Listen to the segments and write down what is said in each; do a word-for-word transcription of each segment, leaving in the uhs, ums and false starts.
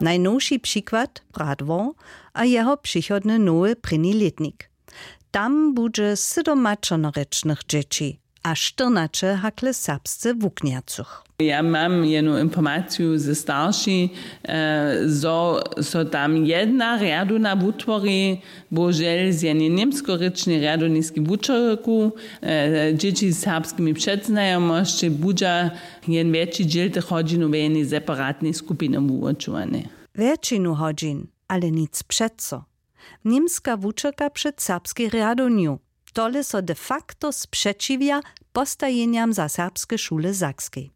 Najnowši přikład Radwor a jeho přichodny nowy prěni lětnik. Tam budźe sydomaćernorěčnych dźěći a štyrnaće hakle serbsce wuknjacych. Ja mam jednu informaciju ze starši, zo so tam jedna rjadowna wutwori, bohužel z jednej němskorěčnej rjadowniskej wučerku. Dźěći z serbskimi předznajomosćemi budźa jen wjetši dźěl tych hodźinow w jednej separatnej skupinje wuwučowany. Wjetšinu hodźin, ale nic přeco. Němska wučerka před serbskej rjadownju, tole so de facto spřećiwja postajenjam za serbske šule w Sakskej.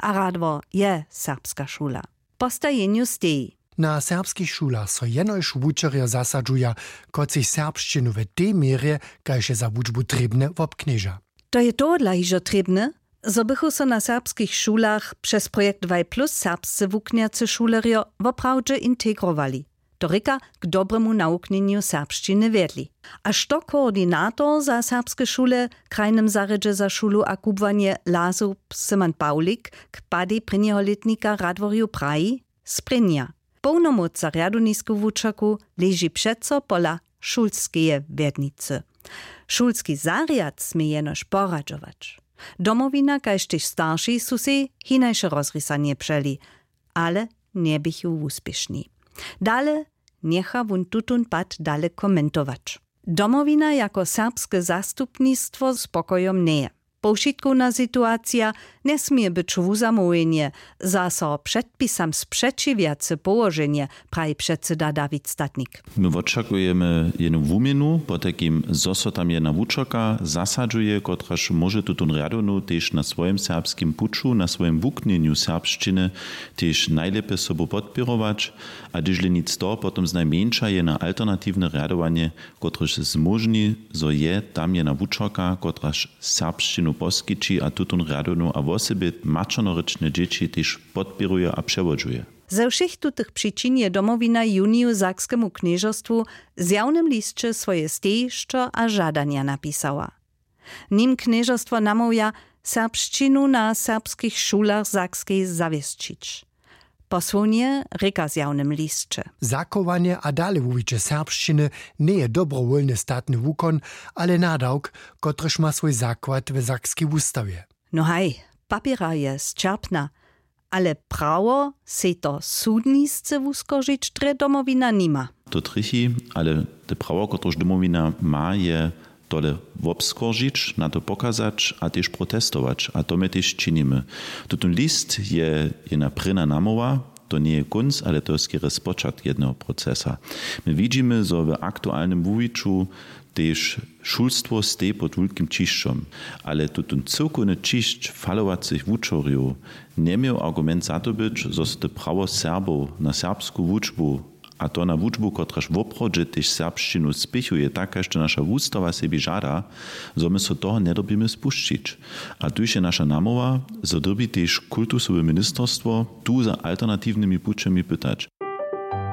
A Radwor je serbska šula. Postajenju steji. Na serbskich šulach so jenož wučerjo zasadźuja, kotřiž serbšćinu w tej měrje, kaž je za wučbu trěbne, wobknježa. To je tohodla hižo trěbne, zo bychu so na serbskich šulach přez projekt Waj plus serbsce wuknjace šulerjo woprawdźe integrowali, to rěka, k dobremu nawuknjenju serbšćiny wjedli. A što koordinator za serbske šule w krajnym zarjedźe za šulu a kubłanje lazu Simon Pawlik k padej prěnjeho lětnika w Radworju praji, sprěnja. Połnomóc za rjadownisku wučerku leži přeco pola šulskeje wjednicy. Šulski zarjad smě jenož poradźować. Domowina kaž tež starši su sej hinaše rozrisanje přeli, ale njeběchu wuspěšni. Dale njecha wón tutón pad dale komentować. Domowina jako serbske zastupnistwo spokojom njeje. Powšitkowna situacija njesměje być wuzamołwjenje, zaso předpisam spřećiwjace połoženje, praji předsyda Dawid Statnik. My wočakujemy jednu wuměnu, potajkim zo so tam jedna wučerka zasadźuje, kotraž móže tutón rjadownu tež na swojim serbskim puću, na swojim wuknjenju serbšćiny tež najlěpje sobu podpěrować. A hdyžle nic toho, potom znajmjeńša jedna alternatiwne rjadowanje, kotrež zmóžni, zo je tam jedna wučerka, kotraž serbšćinu poskići a tutón rjadownu a wosebje maćernorěčne dźěći tež podpěruje a přewodźuje. Ze wšěch tutych přičin je Domowina w juniju sakskemu knježerstwu w zjawnymlisće swoje stejišćo a žadanja napisała. Nim knježerstwo namołwja, serbšćinu na serbskich šulach w Sakskej zawěsćić. Posłownje rěka w zjawnymlisće. Zachowanje a dalewuwiće serbšćiny njeje dobrowólny statny wukon, ale nadawk, kotryž ma swój zakład w sakskej wustawje. No haj, papěra je sćerpna, ale prawo sej to sudnisce wuskoržić drje Domowina nima. To trjechi, ale te prawo, kotrež Domowina ma, je tole wobskoržić, na to pokazać a tež protestować. A to my tež činimy. Tutón list je jedna prěna namołwa, to njeje kónc, ale to je skerje spočatk jedneho procesa. My widźimy, zo w aktualnym wuwiću tež šulstwo steji pod wulkim ćišćom. Ale tutón cyłkowny ćišć falowacych wučerjow njeměł argument za to być, zo so te prawo Serbow na serbsku wučbu, a to na wučbu, kotraž woprawdźe tež serbšćinu spěchuje, tak kaž to naša wustawa sebi žada, zo my so toho njedyrbimy spušćić. A tuž je naša namołwa, zo dyrbi tež kultusowe ministerstwo tu za alternatiwnymi pućemi pytać.